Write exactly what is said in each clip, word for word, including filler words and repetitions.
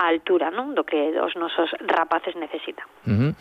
á altura, non, do que os nosos rapaces necesitan. Uh-huh.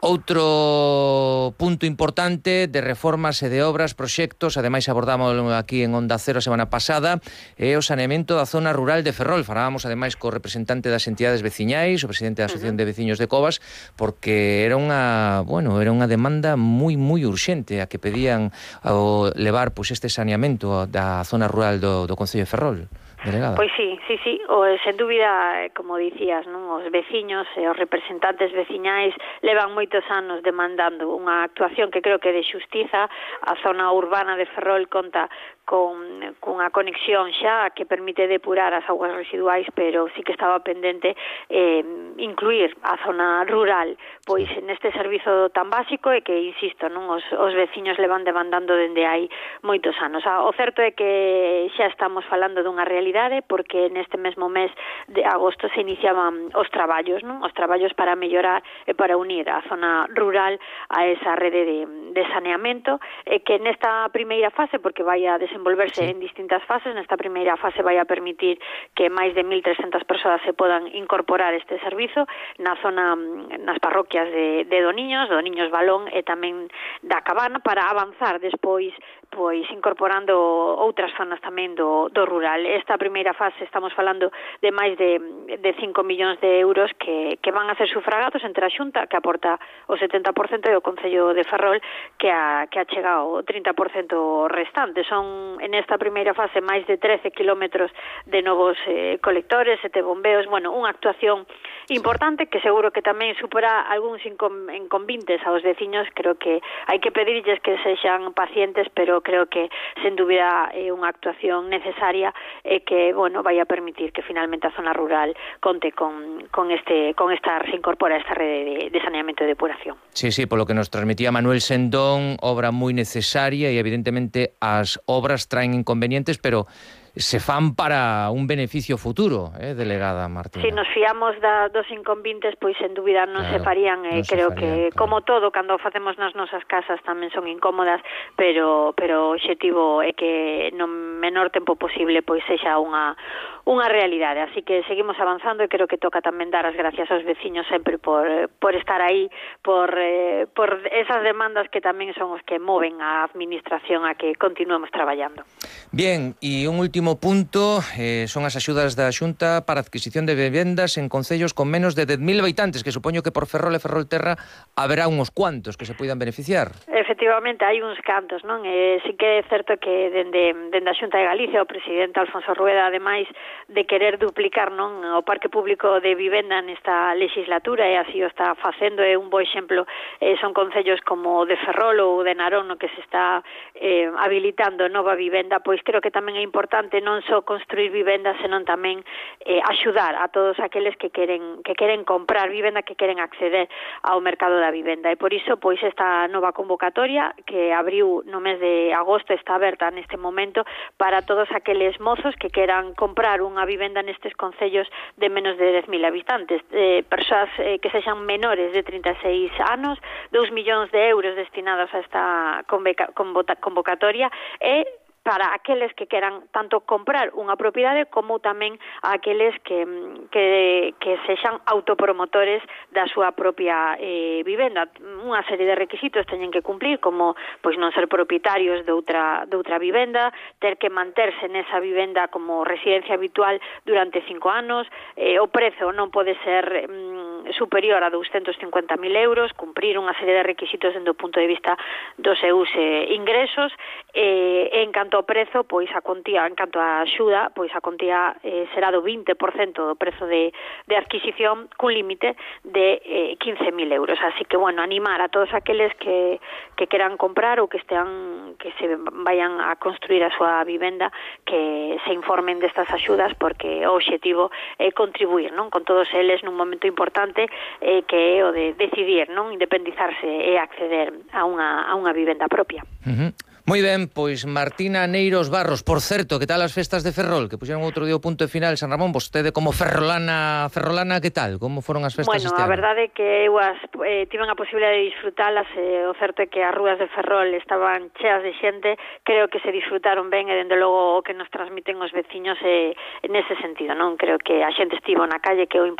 Outro punto importante de reformas e de obras, proxectos, ademais abordamos aquí en Onda Cero a semana pasada, é o saneamento da zona rural de Ferrol. Falábamos ademais co representante das entidades veciñais, o presidente da Asociación uh-huh. de Veciños de Covas, porque era unha, bueno, era unha demanda moi moi urxente a que pedían o levar pois este saneamento da zona rural do, do Concello de Ferrol. Delegada. Pois sí, sí, sí, o, sen dúbida, como dicías, non, os veciños e os representantes veciñais levan moitos anos demandando unha actuación que creo que de xustiza. A zona urbana de Ferrol conta con cunha conexión xa que permite depurar as augas residuais, pero sí que estaba pendente eh, incluir a zona rural pois neste servizo tan básico e que, insisto, non, os, os veciños levan demandando dende hai moitos anos. O certo é que xa estamos falando dunha realidade, porque neste mesmo mes de agosto se iniciaban os traballos, non? Os traballos para mellorar e para unir a zona rural a esa rede de, de saneamento, e que nesta primeira fase, porque vai a desenvolverse sí. en distintas fases, nesta primeira fase vai a permitir que máis de mil trescentas persoas se podan incorporar este servizo na zona, nas parroquias de, de Doniños, Doniños Balón e tamén da Cabana, para avanzar despois pois incorporando outras zonas tamén do, do rural. Esta primeira fase estamos falando de máis de, de cinco millóns de euros que, que van a ser sufragados entre a Xunta, que aporta o setenta por cento, e o Concello de Ferrol, que a, que achega o trinta por cento restante. Son, en esta primeira fase, máis de trece kilómetros de novos eh, colectores, sete bombeos, bueno, unha actuación importante que seguro que tamén supera algúns inconvintes aos veciños. Creo que hai que pedirlles que sexan pacientes, pero creo que, sen dúbida, é unha actuación necesaria e que, bueno, vai a permitir que finalmente a zona rural conte con, con este con esta se incorpora a esta rede de, de saneamento e depuración. Sí, sí, polo que nos transmitía Manuel Sendón, obra moi necesaria, e evidentemente as obras traen inconvenientes, pero se fan para un beneficio futuro, eh, delegada Martina. Si nos fiamos da, dos inconvintes, pois sen dúbida non claro, se farían, e eh, non creo farían, que, claro. como todo, cando facemos nas nosas casas tamén son incómodas, pero pero o obxectivo é que no menor tempo posible pois sexa unha unha realidade. Así que seguimos avanzando, e creo que toca tamén dar as gracias aos veciños sempre por, por estar aí, por, eh, por esas demandas que tamén son os que moven a administración a que continuemos traballando. Bien, e un último punto, eh, son as axudas da Xunta para a adquisición de vivendas en concellos con menos de dez mil habitantes, que supoño que por Ferrol e Ferrolterra haberá uns cuantos que se poidan beneficiar. Efectivamente, hai uns cantos, non? E sí que é certo que dende, dende a Xunta de Galicia, o presidente Alfonso Rueda, ademais de querer duplicar, non, o parque público de vivenda nesta legislatura, e así o está facendo, é un bo exemplo, eh, son concellos como o de Ferrol ou de Narón, no que se está eh, habilitando nova vivenda. Pois creo que tamén é importante non só construir vivendas, senón tamén eh, axudar a todos aqueles que queren que queren comprar vivenda, que queren acceder ao mercado da vivenda. E por iso, pois, esta nova convocatoria que abriu no mes de agosto está aberta neste momento para todos aqueles mozos que queran comprar unha vivenda nestes concellos de menos de dez mil habitantes, eh, persoas eh, que sexan menores de trinta e seis anos, dous millóns de euros destinados a esta convocatoria, e para aqueles que queran tanto comprar unha propiedade como tamén a aqueles que, que, que sexan autopromotores da súa propia eh, vivenda. Unha serie de requisitos teñen que cumplir, como pois non ser propietarios de outra, de outra vivenda, ter que manterse nesa vivenda como residencia habitual durante cinco anos, eh, o prezo non pode ser mm, superior a douscentos cincuenta mil euros, cumprir unha serie de requisitos dende o punto de vista dos seus eh, ingresos, e eh, en canto ao prezo, pois a contía, en canto á axuda, pois a contía eh, será do vinte por cento do prezo de, de adquisición, cun límite de eh, quince mil euros. Así que, bueno, animar a todos aqueles que, que queran comprar ou que estean, que se vayan a construir a súa vivenda, que se informen destas axudas, porque o obxectivo é contribuir, non, con todos eles nun momento importante eh, que é o de decidir, non, independizarse e acceder a unha, a unha vivenda propia. Uh-huh. Moi ben, pois Martina Neiros Barros, por certo, que tal as festas de Ferrol, que puxeron outro día o punto de final San Ramón? Vostede como ferrolana, ferrolana, que tal? Como foron as festas bueno, este ano? Bueno, a verdade é que eu as, eh, tiven a posibilidade de disfrutalas, e o certo é que as rúas de Ferrol estaban cheas de xente. Creo que se disfrutaron ben, e dende logo o que nos transmiten os veciños é, nese sentido, non? Creo que a xente estivo na calle, que é o importante.